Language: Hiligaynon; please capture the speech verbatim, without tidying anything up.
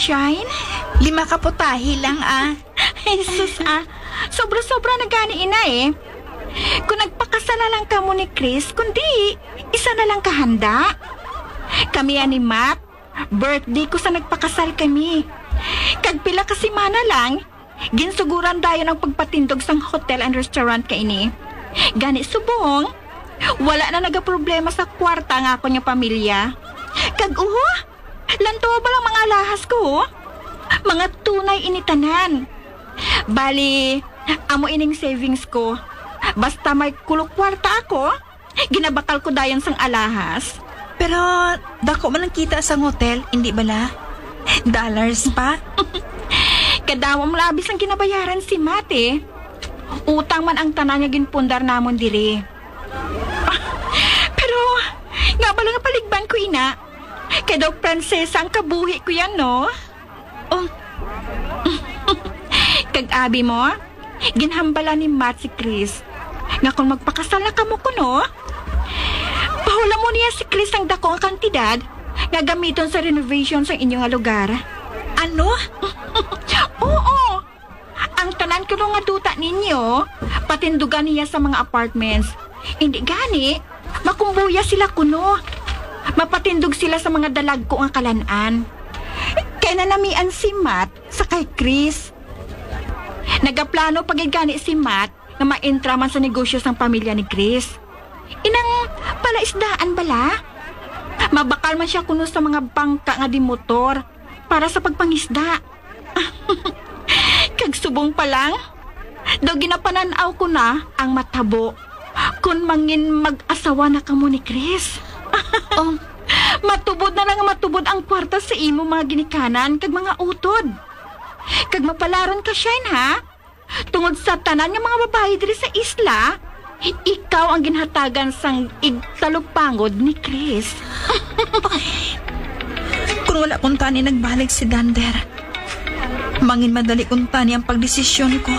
Shine? Lima ka putahe lang, ah. Jesus, ah. Sobra-sobra na gani ina eh. Kung nagpakasal na lang kamo ni Chris, kundi isa na lang kahanda. Kami ani Matt, birthday ko sa nagpakasal kami. Kag pila ka semana lang, ginsuguran dayon ang pagpatindog sang hotel and restaurant kaini. Gani subong, wala na nagaproblema sa kwarta nga akon nga pamilya. Kag uho, lantawa ba lang mga alahas ko, ho? Mga tunay ini tanan. Bali, amo ining savings ko. Basta may kulo kwarta ako, ginabakal ko dayon sang alahas. Pero dako man ang kita sang hotel, indi bala? Dollars pa? Kadamo man labis ang ginabayaran si Mate. Utang man ang tanan nga ginpundar namon diri. Pero nga bala nga paligban ko ina. Kay daw Prinsesa ang kabuhi ko yan, no? Oh. Kag abi mo, ginhambala ni Matt si Chris nga kung magpakasal na kamo kuno, pahulamo niya si Chris ang dako nga kantidad nga gamiton sa renovation sa inyo nga lugar. Ano? Oo. Ang tanan kuno nga duta ninyo, patindugan niya sa mga apartments. Hindi gani, makumbuya sila kuno. Mapatindog sila sa mga dalagko nga kalan-an. Kay nanamian si Matt sa kay Chris. Nagaplano pa gid gani si Matt nga maentra man sa negosyo sang pamilya ni Chris. Inang palaisdaan bala? Mabakal man siya kuno sa mga bangka nga di motor para sa pagpangisda. Kag subong pa lang, daw ginapanan-aw ko na ang matabo kon mangin mag-asawa na kamo ni Chris. Oh. Matubod na lang nga matubod ang kwarta sa imo mga ginikanan kag mga utod. Kag mapalaron ka, Shine, ha? Tungod sa tanan nga mga babayi diri sa isla, ikaw ang ginhatagan sang igtalupangod ni Chris. Kung wala kuntani nagbalik si Dander, mangin madali kuntani ang pagdesisyon ko.